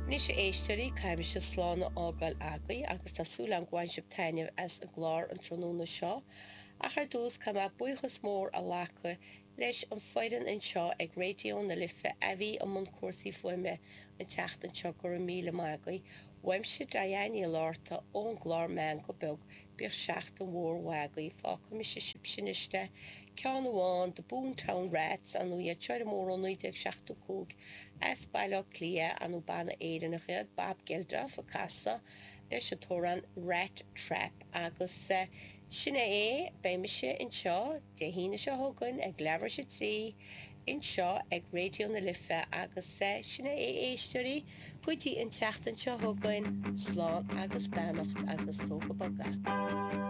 Anois a éisteoirí, caithfidh mise slán a fhágáil agaibh agus tá súil agam go bhain sibh taitneamh as an gclár an tráthnóna seo. Ach ar dtús, caithfidh mé buíochas mór a ghlacadh leis an foireann anseo ag Raidió na Life a bhí i mbun cúrsaí fuaime an tseachtain seo, go raibh míle maith agaibh. Uaimse Diane Ní Fhlatharta ón gclár Meangadh Beag, bíodh seachtain mhór mhaith agaibh. Fágfaidh mise sibhse anois le ceann amháin de Boomtown Rats, ar ndóigh iad seo ar an mór ó 1975 as Baile Átha Cliath, ar ndóigh banna Éireannach iad, Bob Geldof ag casadh leis an t-amhrán Rat Trap agus sin é é, beidh mise anseo Dé hAoine seo chugainn ag leathuair tar éis a 3 anseo ag Raidió na Life agus sin é a éisteoirí go dtí an tseachtain seo chugainn, slán agus beannacht agus tóg go bog é.